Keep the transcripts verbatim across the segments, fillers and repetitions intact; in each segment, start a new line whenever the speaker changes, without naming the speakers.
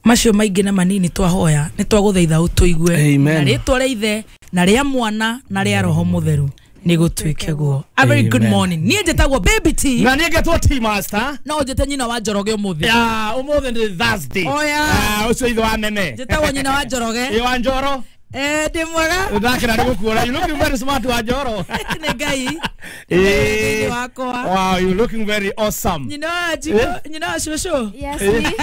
Macio maingĩ na manini twahoya nĩ twagũthaitha ũtũigue.
Amen.
Na rĩtwa rĩa ithe na rĩa mwana na rĩa roho mũtheru nĩ gũtuĩke guo. A very good
Amen.
morning. Niĩ njĩtagwo Baby T.
Na niĩ ngetwo T Master.
No njĩte nyina wa Njoroge ũmũthĩ.
Ya, ũmũthĩ nĩ Thursday.
Oh, yeah.
Ah, ũcio ithe wa meme.
Njĩtagwo nyina wa Njoroge.
Ĩ wa Njoro.
Eh, ndĩ mwega.
Ndakena nĩ gũkuona. You looking very smart wa Njoro.
Nĩ Ngai.
Eh.
Nĩ wakwa.
Wow, you looking very awesome.
Nyina wa Njiko, nyina wa cũcũ.
Yes, me.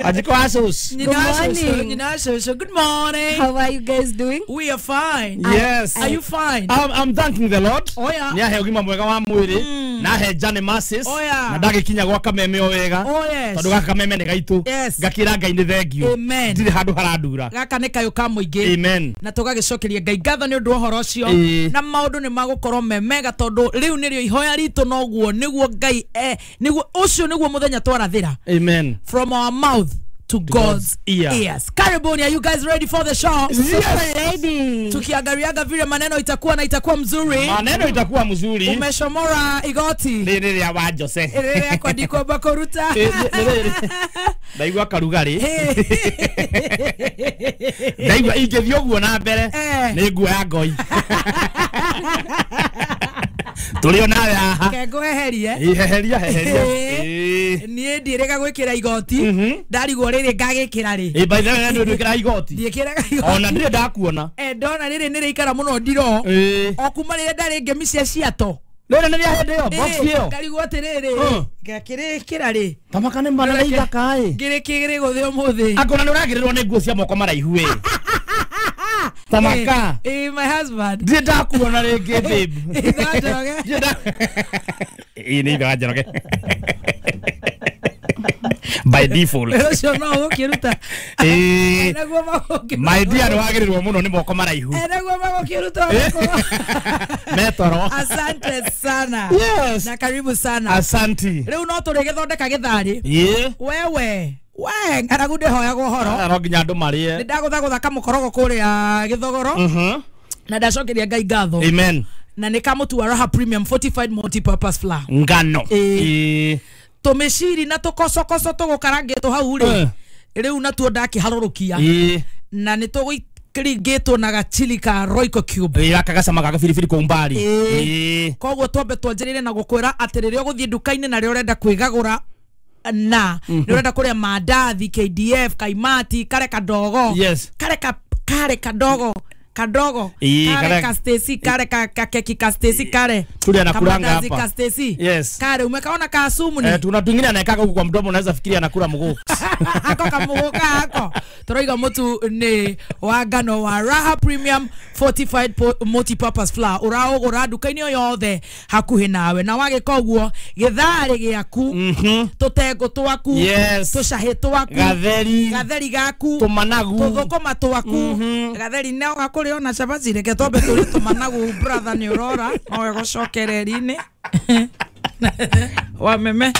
Ajiko asus.
Nyina wa cũcũ,
morning.
nyina wa cũcũ. Good morning.
How are you guys doing?
We are fine.
Yes.
Are you fine?
I'm, I'm thanking the Lord.
Oh, yeah.
Nĩ ahe ũgima mwega wa mwĩrĩ na ahe Johnny Masses
Oh, yeah.
na ndagĩkinya gwa kameme o wega
Oh, yes.
tondũ gaka kameme nĩ gaitũ
Yes.
ngakĩra Ngai nĩ thengio
Amen.
ndirĩ handũ harandura.
Gaka nĩ kayũ ka mũingĩ.
Amen.
Na tũgagĩcokeria Ngai ngatho nĩ ũndũ wa ũhoro ũcio
Ĩĩ.
na maũndũ nĩ magũkorwo me mega tondũ rĩu nĩrĩo ihoya ritũ noguo nĩguo Ngai eh, nĩguo ũcio nĩguo mũthenya twarathĩra
Amen.
from our mouth to God's
God's ear.
ears. Karibuni, are you guys ready for the show?
Yes.
Ready.
Tukiangaliaga vile maneno itakuwa na itakuwa mzuri.
Maneno itakuwa mzuri.
Umeshomora igoti
Rĩrĩ rĩa wa Jose.
rĩrĩa kwandikwo kũruta.
Ĩ, nĩ- rĩrĩ. Ndaigua karugarĩ. Ndaigua ingĩthiĩ ũguo na mbere
Eh.
nĩ nguoya ngoi. Tũrĩ o nawe haha.
Ke ngweherie.
Ĩ, heheria heheria.
Ĩ.
Ĩ.
Niĩ ndiĩrĩga gwĩkĩra igoti
Mhm.
ndarigwo rĩrĩ ngagĩkĩra rĩ
Ĩ, by the way, nĩ ndwĩkĩra igoti.
ndiĩkĩraga igoti.
Ona ndirĩ ndakuona.
Eh, ndona rĩrĩ nĩ rĩikara mũno ndiro
Ĩ.
o kuma rĩrĩa ndarĩ ngemi cia ciato.
Rĩrĩ nĩ rĩa hĩndĩ ĩyo, box ĩyo.
Ngarigwo atĩrĩrĩ
Mm.
ngakĩrĩkĩra rĩ
Tamaka nĩ mana ithaka ĩ.
ngĩrĩkĩrĩ gũthĩ ũmũthĩ.
Akona nĩ ũragĩrĩrwo nĩ nguo cia moko maraihu ĩ. Tamaka.
Eh, my husband.
Ndirĩ ndakuona rĩngĩ babe.
Ithe wa Njoroge.
Ndirĩ nda- Ĩ, nĩ ithe wa Njoroge. By default.
Wĩra ũcio no ũgũkĩruta.
Ĩ.
Naguo magũkĩruta.
My dear nĩ wagĩrĩrwo mũno nĩ moko maraihu.
Eh, naguo magũkĩruta ũgũkũ.
Metoro.
Asante sana.
Yes.
Na karibu sana.
Asanti.
Rĩu no tũrĩgĩthondeka gĩtharĩ.
Ĩ.
Wewe, we ng'aragu ndĩhoyaga ũhoro.
No nginya andũ marĩe.
Nĩ ndagũthagũtha kamũkorogo kũrĩa gĩthogoro
Mhm.
na ndacokeria Ngai ngatho.
Amen.
Na nĩ kamũtu wa Raha Premium Fortified Multipurpose Flour.
Ngano.
Ĩ.
Ĩ.
Tũmĩciri na tũkocokoco tũgũkarangĩtwo hau rĩ
Eh.
rĩu natuo ndakĩharũrũkia
Ĩ.
na nĩ tũgũikĩringĩtwo na gachili ka Royco Cube.
Ĩ, gaka gacama ga gabiribiri kũu mbari.
Ĩ.
Ĩ.
Koguo twambe twanjĩrĩre na gũkwĩra atĩ rĩrĩa ũgũthiĩ nduka-inĩ na rĩrĩa ũrenda kwĩgagũra na nĩ ũrenda kũrĩa mandathi K D F kaimati kare kadogo
Yes.
kare ka kare kadogo kadogo
Ĩ,
kare
kare-
ka Stacy kare ka ka keki ka Stacy kare
Tuli anakulanga
Kamandazi
hapa.
ka Stacy
Yes.
kare umekaona ka sumu ni
Eh, tuna twingine anaekaga huku kwa mdomo unaweza fikiria anakula mguu.
ako kamuguka ako tũroiga mũtu nĩ wa ngano wa Raha Premium Fortified po- Multipurpose Flour ũraũgũra nduka-inĩ o yothe hakuhĩ nawe na wagĩka ũguo gĩtharĩ gĩaku tũtengũ twaku
Yes.
tũcahĩ twaku
Gatheri.
gatheri gaku
Tũmanagu.
tũthũkũma twaku gatheri no gakũrĩ ona cabaci reke twambe tũrĩe tũmanagu brother nĩ ũrora no wegũcokereri-inĩ wa meme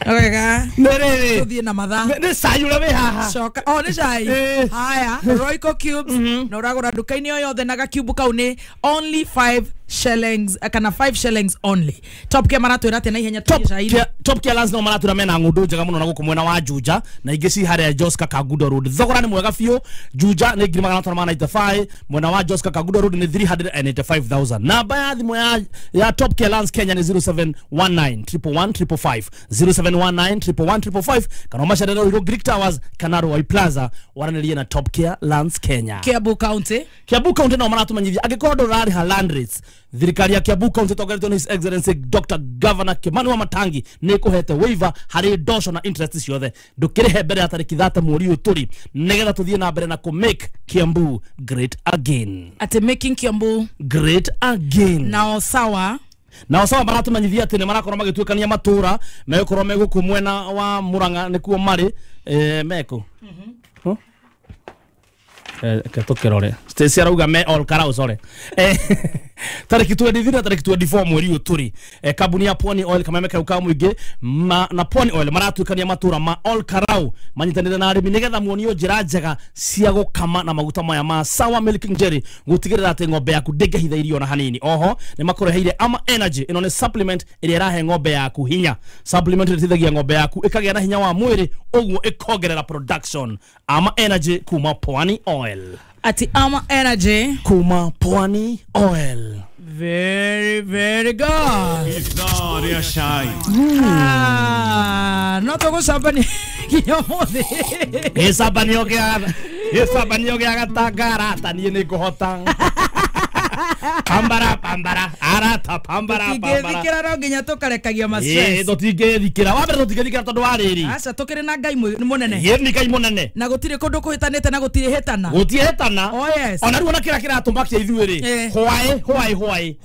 wega
Nĩ rĩrĩ.
tũthiĩ na mathaa
Nĩ nĩ cai ũrĩa wĩ haha.
coka oh nĩ cai
Eh.
haya Royco cubes na ũragũra nduka-inĩ o yothe na gakiubu kau nĩ only five shillings eh, kana five shillings only. Top Care maratwĩra atĩa na ihenya
Top
tũthiĩ cai-inĩ?
Care- Top Care Lands no maratwĩra mena ng'ũndũ njega mũno na gũkũ mwena wa Juja na ingĩ ci harĩa Joska Kangundo Road. Thogora nĩ mwega biũ. Juja nĩ ngiri magana matano ma ninety five, mwena wa Joska Kangundo Road nĩ three hundred and eighty five thousand. Namba ya thimũ ya, ya Top Care Lands Kenya nĩ zero seven one nine triple one triple five, zero seven one nine triple one triple five, kana ũmacerere Ruiru Greek Towers kana Ruai Plaza waranĩrie na Top Care Lands Kenya.
Kiambu County.
Kiambu County no maratumenyithia angĩkorwo ndũrarĩha land rates, thirikari ya Kiambu County ĩtongoretio nĩ His Excellency Doctor Governor Kimani Wamatangi nĩ ĩkũhete waiver harĩ ndosho na interest ciothe. Ndũkĩrĩhe mbere ya tarĩki thate mweri ũyũ tũrĩ nĩgetha tũthiĩ na mbere na kũ make Kiambu great again.
Ati making Kiambu
great again.
Nao sawa.
Nao sawa maratumenyithia atĩ nĩ marakorwo magĩtuĩkania matũra megũkorwo me gũkũ mwena wa Murang'a nĩkuo marĩ, eh, mekũ. Huh? Ke tukirore Stacy arauga me all karau sorry eh tariki twenty-three na tariki twenty-four mweri uyu turi eh, kambuni ya Pwani Oil kameme kau ka muingi ma, na Pwani Oil maratuikania matura ma all karau manyitanire na arimi nigetha muonio njira njega cia gukama na maguta maya ma Sawa Milking Jelly gutigirira ati ng'ombe yaku ndingihitha irio na hanini. Oho ni makureheire Ama Energy, ino ni supplement iria irahe ng'ombe yaku hinya. Supplement ĩteithagia ng'ombe yaku ikagia na hinya wa mwiri uguo ikongerera production. Ama Energy kuma Pwani Oil.
Ati Ama Energy
kuma Pwani Oil.
Very very good.
Ithaa cai.
Ah, no tũgũcambania nginya ũmũthĩ.
Gĩcambanio gĩa gĩcambanio gĩa gatanga arata niĩ nĩngũhota. Pambara pambara arata pambara pambara.
Tũtingĩthikĩra no nginya tũkarekagia ma stress.
Ĩĩ tũtingĩthikĩra. Wa mbere tũtingĩthikĩra tondũ wa rĩrĩ.
Aca tũkĩrĩ na Ngai mũnene.
Ĩĩ nĩ Ngai mũnene.
Na gũtirĩ kũndũ kũhĩtanĩte na gũtirĩ hĩtana.
Gũtirĩ hĩtana.
Oh yes.
Ona rĩu ona kĩrĩa kĩratũmakia ithuĩ rĩ. Hwaĩ hwaĩ hwaĩ.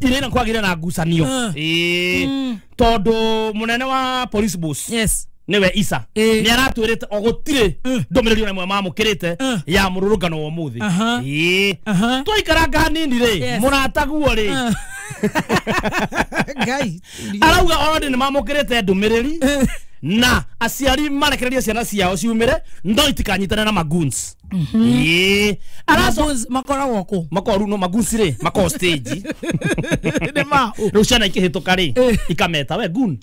Irĩ na kwagĩre na ngucanio. Ĩĩ tondũ mũnene wa police boss.
Yes.
Niwe Isa ni aratwirite o gutire ndumiriri ona mwe mamukirite ya mururungano wa umuthi. Ii twaikaranga hanini ri murataguo ri
Ngai
arauga already ni mamukirite ndumiriri na aciari marekererie ciana ciao ciumire no itikanyitane na magoons. Ii araco
makoragwo ku
makoru no magoons ri mako stage
ni ma
riu ciana ikihituka ri ikameta we goon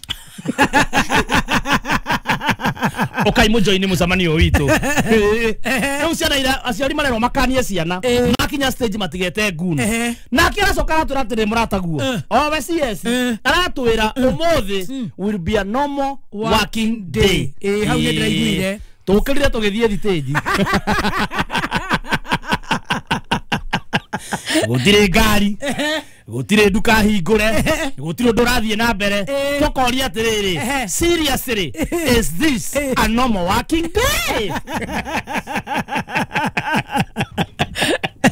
okai mujoini mucemanio witu. Riu ciana ira aciari marerwo makanie ciana makinya stage matigete goon. Nake aracoka aratwira atĩrĩ mũrataguo o we C S aratwira umuthi will be a normal working day.
Ĩĩ hau nĩ ndĩraiguire
tũkĩrire tũgĩthiĩ stage. Gũtirĩ ngari, gũtirĩ nduka hingũre, gũtirĩ ũndũ ũrathiĩ na mbere. Tũkoria atĩrĩrĩ, seriously, is this a normal working day?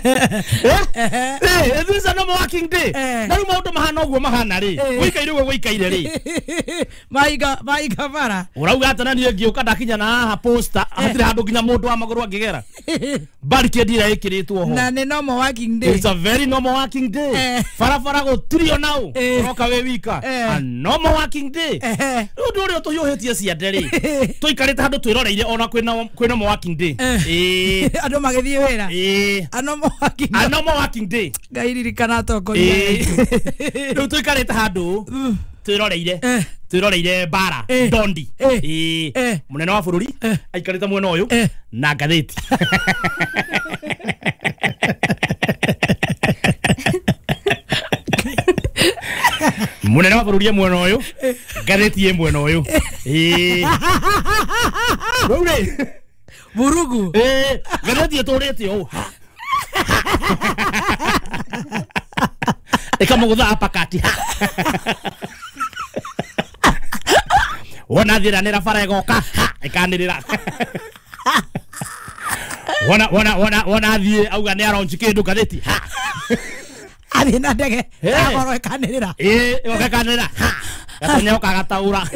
Eh, is this a normal working day? Na rĩu maũndũ mahana ũguo mahana rĩ, gũikaire ũguo gũikaire rĩ.
Maiga maiga bara.
Ũrauga atĩ na niĩ ngĩũka ndakinya na haha posta, hatirĩ handũ nginya mũndũ wa magũrũ angĩgera. Barricade ĩrĩa ĩkĩrĩtwo ho.
Na nĩ normal working day.
It's a very normal working day. Barabara gũtirĩ ona ũ, ũroka wĩ wika. A normal working day. Rĩu ũndũ ũrĩa tũhiũhĩtie ciande rĩ, tũikarĩte handũ twĩroreire ona kwĩna kwĩ normal working day. Ĩĩ.
Andũ magĩthiĩ wĩra.
Ĩĩ.
A normal working day.
A normal working day.
Ngai ririkana atongoria.
Rĩu tũikarĩte handũ twĩroreire twĩroreire bara ndondi. Ĩĩ mũnene wa bũrũri aikarĩte mwena ũyũ na ngathĩti. Mũnene wa bũrũri e mwena ũyũ, ngathĩti ĩ mwena ũyũ. Ĩĩ rĩu rĩ
vurugu.
Ĩĩ ngathĩti ĩtũrĩte ũũ ĩkamũgũtha apakati. Wona thiranĩra bara ĩgoka ĩkanĩrĩra. Wona wona wona wona thiĩ auga nĩ aronji kĩndũ ngathĩti.
Athiĩ na ndege akorwo ĩkanĩrĩra.
Ĩĩ ĩgoka ĩkanĩrĩra. Gatonyoka gataũra.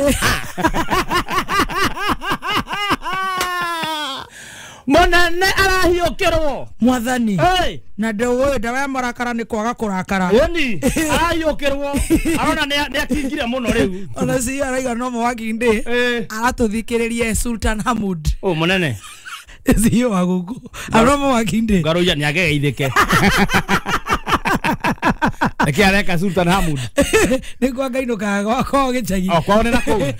Mũnene arahiũkĩrwo
mwathani. Na ndũĩ ndawa ya marakara nĩ kwaga kũrakara.
Ĩni arahiũkĩrwo arona nĩ akingire mũno rĩu.
Ona si araiga normal working day. Aratũthikĩrĩria Sultan Hamud.
Ũ mũnene
C E O wa gũkũ. A normal working day.
Ngaroia nĩ agegeithĩke. Nĩkĩ areka Sultan Hamud?
Nĩ kwa ngainũkaga gwakwa gĩcagi.
O kwao nĩ na kũu.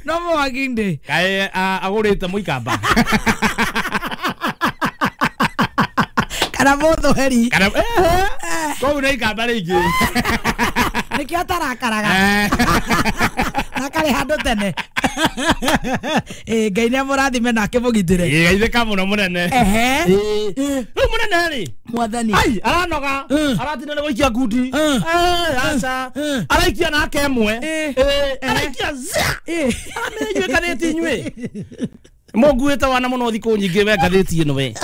Normal working day.
Kaĩ agũrĩte mũikamba.
Kana mũthũheri.
Kana kũu nĩ ikamba rĩingĩ.
Nĩkĩo atarakaraga. Na karĩ handũ tene. Ĩĩ Ngai nĩamũrathime na akĩmũgitĩre.
Ĩĩ geithĩka mũno mũnene.
Ehe.
Rĩu mũnene rĩ
mwathani.
Ai aranoga aratinda nĩ gũikia ngundi. Aca araikia nake ĩmwe. Araikia za. Aramenya inyuĩ ngathĩti inyuĩ. Mũnguĩte wana mũno thikũ nyingĩ we ngathĩti ĩno we.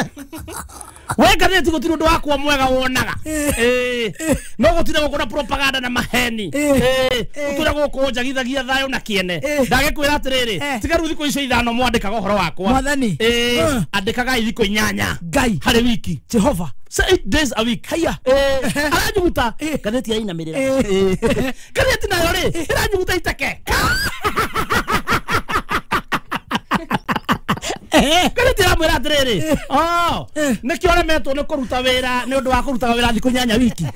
We ngathĩti gũtirĩ ũndũ wakwa mwega wonaga. Ĩĩ. No gũtirĩ gũkũ na propaganda na maheni. Ĩĩ. Gũtũra gũkũ njagithagia thayũ na kĩene. Ndagĩkwĩra atĩrĩrĩ, tiga rĩu thikũ icio ithano mwandĩkaga ũhoro wakwa.
Mwathani.
Ĩĩ. Andĩkagai thikũ inyanya.
Ngai.
Harĩ wiki.
Jehova.
Eight days a week.
Haya.
Aranyuguta. Ngathĩti yainamĩrĩra. Ngathĩti nayo rĩ, ĩranyuguta iteke. Ngathĩti ĩramwĩra atĩrĩrĩ, oh, nĩkĩo ũremetwo nĩ kũruta wĩra nĩ ũndũ wa kũrutaga wĩra thikũ inyanya wiki.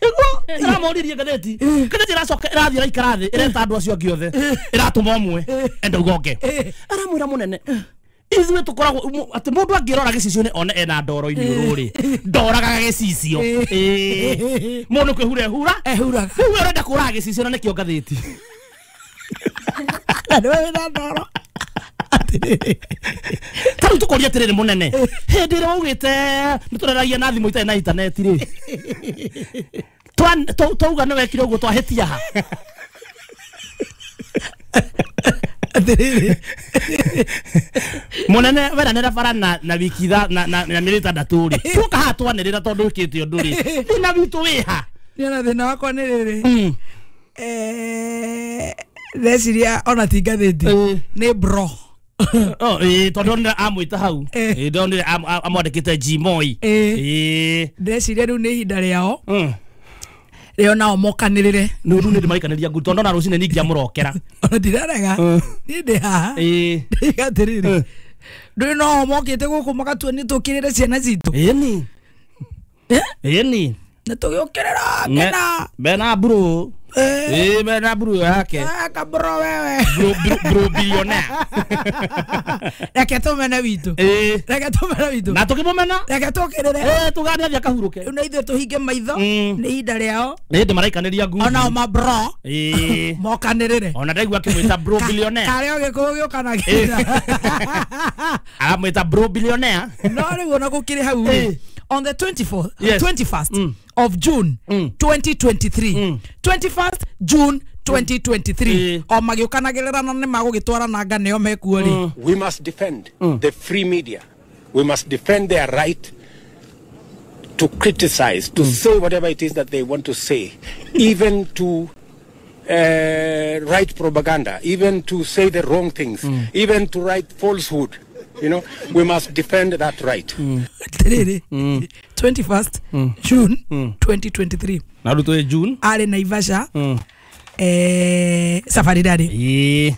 Ĩguo ĩramoririe ngathĩti. Ngathĩti ĩracoka ĩrathiĩ ĩraikara thĩ ĩreta andũ acio angĩ othe. Ĩratũma ũmwe enda uga ũngĩ. Aramwĩra mũnene, ithuĩ tũkoragwo atĩ mũndũ angĩrora gĩcicio-inĩ one ena ndoro iniũrũ rĩ, ndoragaga gĩcicio. Ĩĩ. Mũndũ kwĩhura ehura.
Ehuraga.
Rĩu we ũrenda kũraga gĩcicio na nĩkĩo ngathĩti.
Nĩwe wĩna ndoro.
Ta rĩu tũkũria atĩrĩrĩ mũnene, hĩndĩ ĩrĩa waugĩte nĩ tũreragia na thimũ itarĩ na intaneti rĩ, twauga nĩ wekire ũguo twahĩtia ha?
Atĩrĩrĩ.
Mũnene weranĩra bara na na wiki itha na na mĩeri ĩtandatũ rĩ, tuoka haha twanĩrĩra tondũ wĩkĩte ũndũ rĩ, thĩna witũ wĩ ha?
Niĩ ona thĩna wakwa nĩ rĩrĩ, eh, ndeciria ona ti ngathĩti, nĩ bro.
Oh, ĩĩ, tondũ ndonire amwĩta hau. Ĩĩ, ndonire amwandĩkĩte G Moi. Ĩĩ.
Ndeciria rĩu nĩ ihinda rĩao. Rĩo nao mokanĩrĩre.
Nĩ rĩu nĩ ndĩmaikanĩria ngundi tondũ ndona rũcinĩ ningĩamũrokera.
Ona ndirarega. Niĩ ndĩ haha.
Ĩĩ.
Ndĩiga atĩrĩrĩ, ndũĩ no mokĩte gũkũ magatua nĩ tũkĩrĩre ciana citũ.
Ĩni. Ĩni.
Nĩ tũgĩũkĩrĩra kena.
Mena bro. Ĩĩ, mena bro yake.
Kabro wewe.
Bro, bro, bro billionaire.
Reke tũmene witũ.
Ĩĩ.
Reke tũmene witũ.
Na tũkĩmũmena.
Reke tũkĩrĩre.
Ĩĩ, tũgane athiĩ akahurũke.
Rĩu na ithuĩ tũhinge maitho. Nĩ ihinda rĩao.
Nĩ ndĩmaraikanĩria ngundi.
Onao ma bro.
Ĩĩ.
Mokanĩrĩre.
Ona ndaigua akĩmwĩta bro billionaire.
Karĩa Gĩkũyũ gĩũkanagia.
Aramwĩta bro billionaire.
No rĩu ona gũkĩrĩ hau rĩ. On the twenty-fourth,
yes.
twenty-first
mm.
of June
mm.
twenty twenty-three.
Mm.
twenty-first June twenty twenty-three.
Mm.
O magĩũkanagĩrĩra na nĩ magũgĩtwara nanga nĩo mekuo rĩ.
We must defend mm. the free media. We must defend their right to criticize, to mm. say whatever it is that they want to say, even to uh, write propaganda, even to say the wrong things,
mm.
even to write falsehood. You know, we must defend that right.
Mm.
Mm. twenty-first
mm.
June
mm.
twenty twenty-three.
Na rutwe June.
Ari Naivasha.
Mm.
Eh, safari dadi.
Eh.